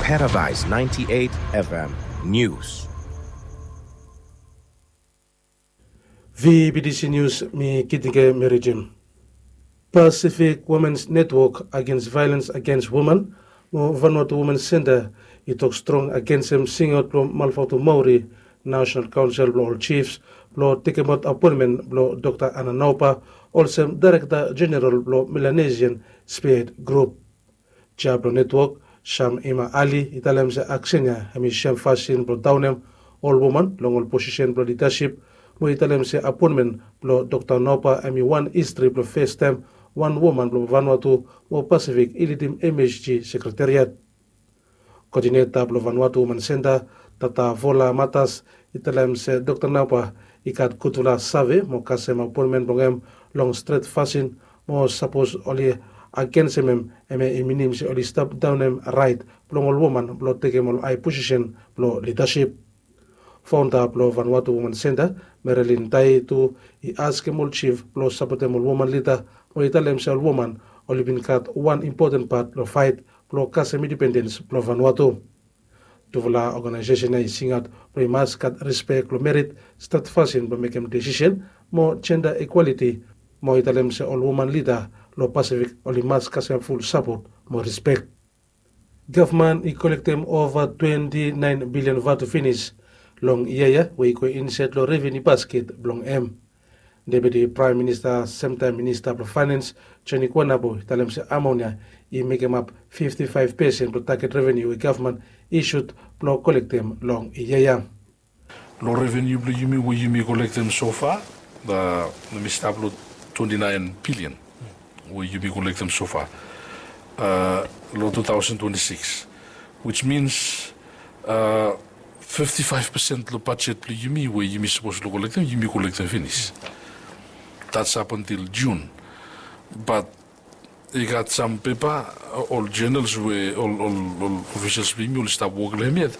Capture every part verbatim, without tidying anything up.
Paradise ninety-eight F M News. V B T C News, mi Kitinge Merijim. Pacific Women's Network Against Violence Against Women mo Vanuatu Women's Center i tok strong agensem singaot blong Malfatu Maori, National Council blong ol Chiefs, blong tekemaot apoenmen blong Dokta Ana Naupa olsem Daerekta Jeneral blong Melanesian Spearhead Group. Jea blong netwok, Sam Ima Ali, i talem se aksen ya hemi sem fasin blong daonem ol woman long ol posisen blong lidasip, mo i talem se apoenmen blong Dokta Naupa hemi wan histri blong fastaem wan woman blong Vanuatu mo Pasifik i lidim M H G sekretariat. Koodineta blong Vanuatu Woman Senta, Tata Vola Matas, i talem se Dokta Naupa i gat gudfala save mo kasem apoenmen blong hem long stret fasin, mo sapos oli agensem hem, hemia i minim se oli stap daonem raet blong ol woman blong tekem ol ae posisen blong lidasip. Faonda blong Vanuatu Woman Senta, Marilyn Tai tu, i askem ol jif blong sapotem ol woman lida, mo i talem se ol woman oli bin gat wan impoten pat blong faet blong kasem indipendens blong Vanuatu. Tufala oganaesesen ya i singaot blong i mas gat rispek long merit, stat fasin blong mekem desisen, mo jenda ikwaliti, mo i talem se ol woman lida long Pasifik oli mas kasem ful sapot mo rispek. Gavman i kolektem ova twenti naen bilian vatu finis long yia ya we i go insaed long revenu basket blong hem. Deputi Praem Minista, semtaem Minista blong Faenens, Joni Kuanapo, i talem se amonia i mekemap fifti faef pesen blong taget revenu we gavman i sud blong kolektem long yia ya. Long revenu blong yumi we yumi kolektem sofa, hemi stap long twenti naen bilian we yumi kolektem sofa long tu taosen twenti sikis, which means fifti faef pesen long bajet blong yumi we yumi sapos long kolektem, yumi kolektem finis. That's up until June. But i gat sam pepa, ol journals we ol ol ol officials blong yumi oli stap wok long hem yet,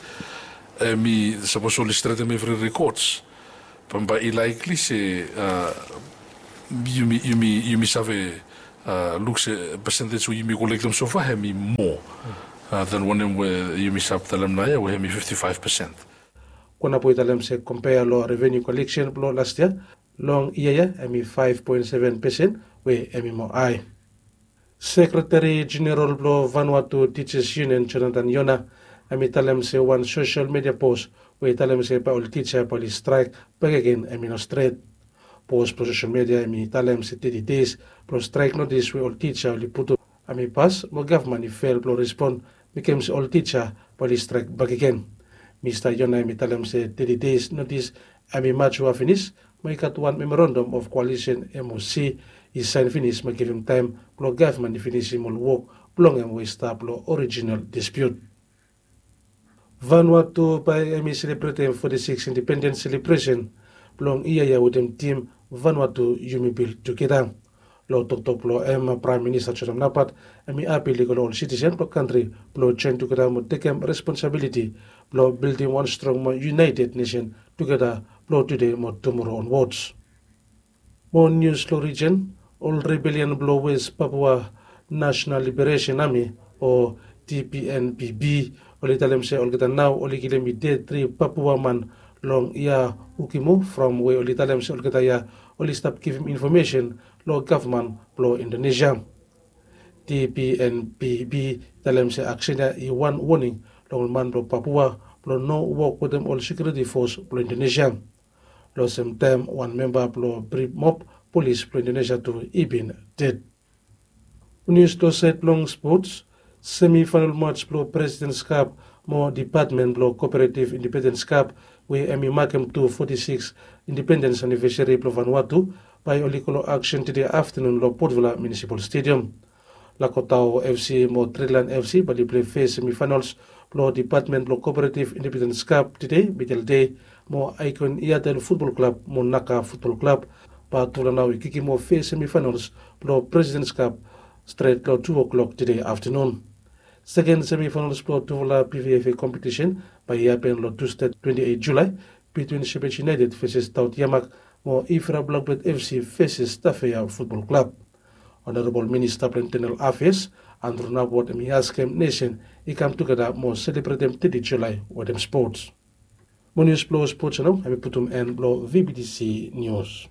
hemi sapos oli stretem evri records, bambae i likely se yumi yumi yumi save luk se percentage we yumi kolektem sofa hemi moa than wanem we yumi stap talem naoia we hemi fifti faef pesen. Kuanapo i talem se kompea long revenu koleksen blong las yia, long yia ya hemi faef poen seven pesen we hemi moa ae. Sekreteri Jeneral blong Vanuatu Teachers Union, Jonathan Yona, hemi talem se wan sosel midia pos we i talem se bae ol tija bae oli straek bakegen hemi no stret. Pos blong sosel midia hemi talem se teti deis blong straek notis we ol tija oli putum hemi pas, mo gavman i fel blong respon, mekem se ol tija bae oli straek bakegen. Mista Yona hemi talem se teti deis notis hemi matua finis, mo i gat wan memorandam of koalisen, M O C, i saen finis mo givim taem blong gavman i finisim ol wok blong hem we i stap long orijinal dispiut. Vanuatu bae hemi selebretem foti sikis indipendens selebresen blong yia ya wetem tim Vanuatu Yumi Bil Tugeta. Long toktok blong hem, Praem Minista Josef Napat hemi apil i go long ol sitisen blong kantri blong joen tugeta mo tekem responsabiliti blong bildim wan strong mo yunaeted nesen tugeta blong tude mo tumoro onwods. Mo nius long rijen, ol rebelian blong Wes Papua Nasonal Liberesen Ami o T P N P B oli talem se olgeta nao oli kilim i ded tri Papua man long Ia Ukimo from we oli talem se olgeta ya oli stap givim infomesen long gavman blong Indonesia. T P N P B i talem se aksen ya i wan woning long ol man blong Papua blong no wok wetem ol sekiuriti fos blong Indonesia. Long sem taem wan memba blong Brimob polis blong Indonesia tu i bin ded. Nius long saed blong spots, semifaenal mats blong Presidens Kap mo Dipatmen blong Koperetiv Indipendens Kap we hemi makem tu foti sikis indipendens anivesari blong Vanuatu bae oli go long aksen tede aftanun long Potvilla Munisipal Stediam. Lakotao F C mo Trilan F C bae oli plei fes semifaenals blong Dipatmen blong Koperetiv Indipendens Kap tede midel dei, mo Aikon Iatel Futbol Klab mo Naka Futbol Klab bae tufala nao i kikim fes semifaenals blong Presidens Kap stret long tu o'clock tede aftanun. Seken semifaenals blong tufala P V F A kompetisen bae i hapen long Tusde twenti eit Julae bitwin Shepherd United feses Taut Yamak mo Ifra Blakbet F C feses Tafea Futbol Klab. Onarebol Minista blong Intenal Afeas, Andrew Nabwat hem i askem nesen i kam tugeta mo selebretem teti Julae wetem spots. Mo nius blong spots ya nao hem i putum en blong V B T C Nius.